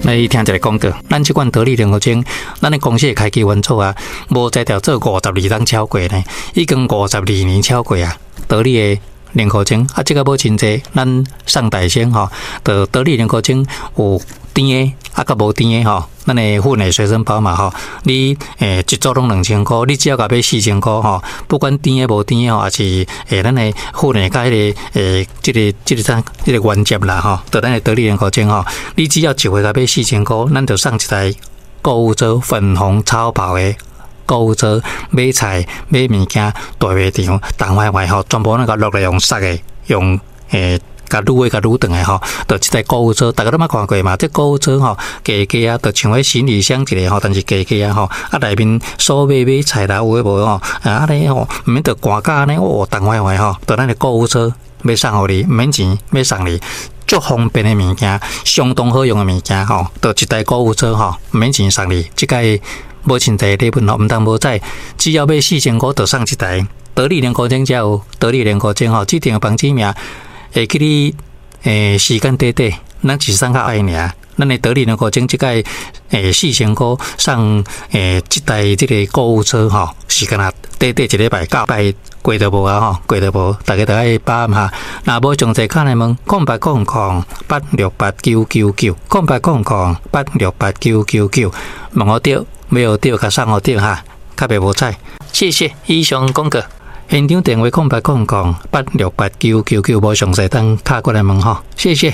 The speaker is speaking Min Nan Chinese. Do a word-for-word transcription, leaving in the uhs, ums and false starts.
來聽一个廣告，咱這款得力聯合煎，咱的公司的開機元祖啊，無才調做五十二冬超過呢，已經五十二年超過啊，得力的連苦精啊，這个無真濟，咱送大生吼，就得力連苦精有甜的啊，佮無甜的吼，咱的粉的隨身包嘛吼，你欸一組攏兩千箍，你只要共買四千箍吼，不管甜的無甜的吼，抑是欸咱的粉的佮彼个欸這个這个啥這个原汁啦吼，就咱的得力連苦精吼，你只要一回共買四千箍，咱就送一台購物車粉紅超跑的購物車，買菜買物件，大賣場，重壞壞吼，全部攏共落來用捒的，用欸。共擄的共擄轉來吼，就這台購物車，逐家攏捌看過嘛？這購物車吼，加加啊，就像彼行李箱一个吼，但是加加啊吼，啊內面所買買菜啦，有的無吼，啊按呢吼，毋免著寒甲按呢，哦，重壞壞吼，就咱的購物車欲送予你，毋免錢，欲送你，足方便的物件，相當好用的物件吼，就一台購物車吼，毋免錢送你，這擺無真濟禮物吼，毋通無彩，只要買四千箍，就送一台得力連苦精才有得力連苦精吼，這張房子名。會記你欸時間短短，咱是送較愛爾。咱的得力連苦精這擺欸四千箍送欸這台這个購物車吼，是敢若短短一禮拜九擺過就無啊吼，過就無，逐家著愛把握哈。若無詳細敲來問，空八空空八六八九九九，空八空空八六八九九九，問予著，買予著，共送予著哈，較袂無彩。謝謝，以上廣告。現場電話空八空空八六八九九九，無詳細等敲過來問吼，謝謝。